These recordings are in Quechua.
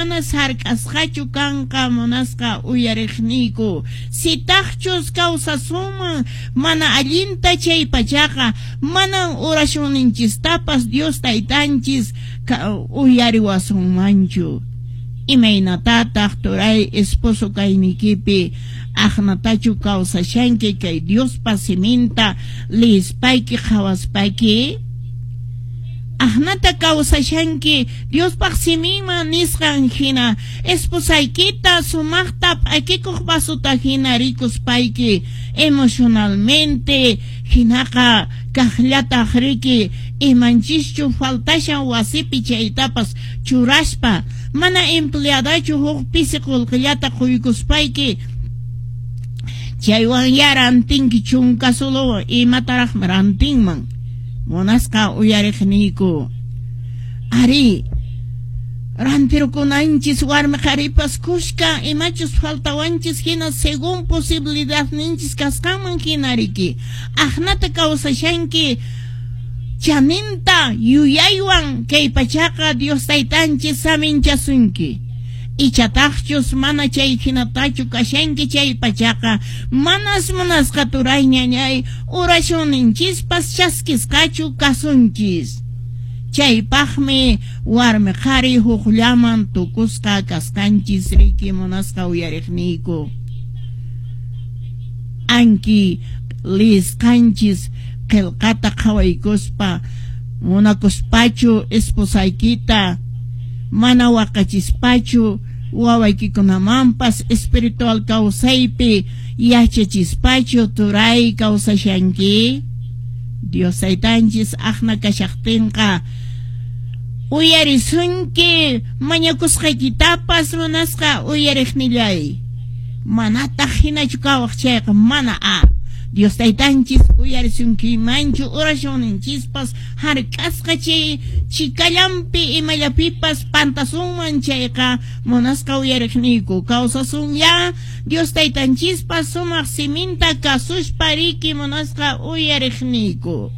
Manas hark'asqachu kanqa munasqa uyariqniyku. Sitaqchus kawsasunman mana allinta chay pachaqa manan oracionninchistapas Dios taytanchis uyariwasunmanchu. Imaynatataq turay esposo kaynikipi aqnatachu kawsashanki kay Diospa siminta lispayki qhawaspayki? Aqnata kawsashanki Diospaq siminman nisqan hina esposaykita sumaqta p'akikuq vasota hina rikuspayki emocionalmente hinaqa kaqllataq riki imanchischu faltashan wasipi chaytapas churaspa mana empleadachu huk pisi qullqillata quykuspayki chaywan ya rantinki chunka solowan imataraqmi rantinman munasqa uyariqniyku. Ari, rantirukunanchis warmi qharipas kushka imachus faltawanchis hina según posibilidadninchis kasqanman hina riki. Aqnata kawsashanki chaninta yuyaywan kay pachaqa Dios taytanchis saminchasunki. Ichataqchus mana chay hinatachu kashanki chay pachaqa manas munasqa turay ñañay oracionninchispas chaskisqachu kasunchis. Chaypaqmi warmi qhari hukllaman tukusqa kasqanchis riki munasqa uyariqniyku. Anki lisqanchis qillqata qhawaykuspa munakuspachu esposaykita mana waqachispachu wawaykikunamanpas espiritual kawsaypi yachachispachu turay kawsashanki. Dios taytanchis aqna kashaqtinqa uyarisunki mañakusqaykitapas munasqa uyariqnillay. Manataq hinachu kawaq chayqa mana a Dios taytanchis uyarisunkimanchu oracionninchispas hark'asqa chay chikallampi imallapipas pantasunman chayqa munasqa uyariqniyku kawsasun ya Dios taytanchispas sumaq siminta kasuspa riki munasqa uyariqniyku.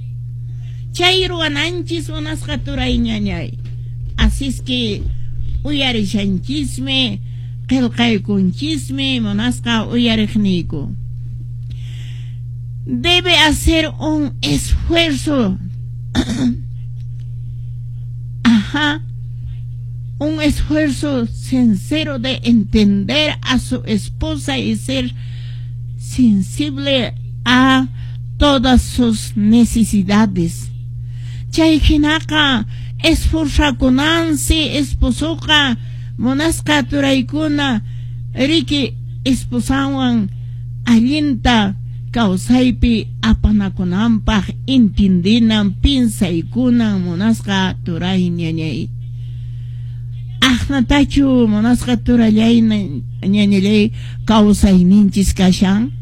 Chay ruwananchis munasqa turay ñañay. Así es que uyarishanchismi qillqaykunchismi munasqa uyariqniyku. Debe hacer un esfuerzo. Ajá. Un esfuerzo sincero de entender a su esposa y ser sensible a todas sus necesidades. Chay hinaqa esforzakunansi esposoqa munasqa turaykuna riki esposanwan allinta kawsaypi apanakunanpaq entendinan pinsaykunan munasqa turay ñañay. Aqnatachu munasqa turallay ñañallay kawsayninchis kashan.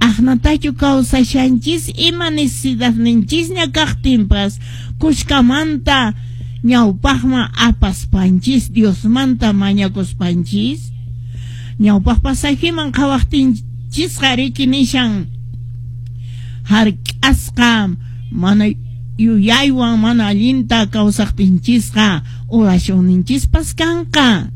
Aqnatachu kawsashanchis ima necesidadninchisña kaqtinpas kushkamanta ñawpaqman apaspanchis Diosmanta mañakuspanchis. Ñawpaq pasajiman qhawaqtinchisqa riki nishan hark'asqa mana yuyaywan mana allinta kawsaqtinchisqa oracionninchispas kanqa.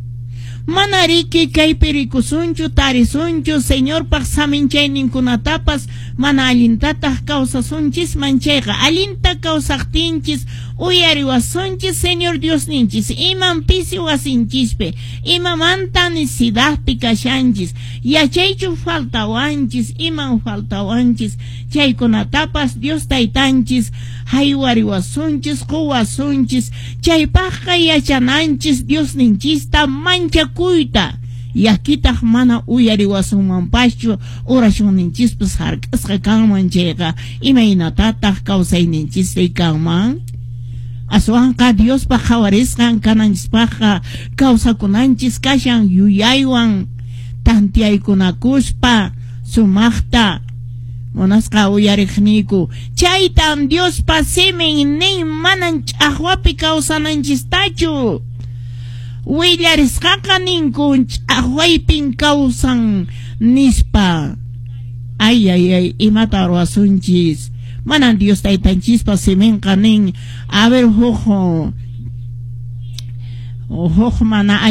Mana riki kaypi rikusunchu tarisunchu Señorpaq saminchayninkunatapas mana allintataq kawsasunchisman chayqa allinta kawsaqtinchis uyariwasunchis Señor Diosninchis iman pisi wasinchispi imamanta necesidadpi kashanchis yachaychu faltawanchis iman faltawanchis chaykunatapas Dios taytanchis haywariwasunchis quwasunchis chaypaqqa yachananchis Diosninchista manchakuyta yakitaq mana uyariwasunmanpaschu oracionninchispas hark'asqa kanman chayqa imaynatataq kawsayninchisri kanman. Aswanqa Diospaq qhawarisqan kananchispaqqa kawsakunanchis kashan yuyaywan tantiyaykunakuspa sumaqta munasqa uyariqniyku. Chaytan Diospa simin nin manan ch'aqwapi kawsananchistachu. Willarisqaqa ninku ch'aqwaypin kawsan nispa. Ay ay ay imata ruwasunchis. Manan Dios taytanchispa siminqa nin a ver huk mana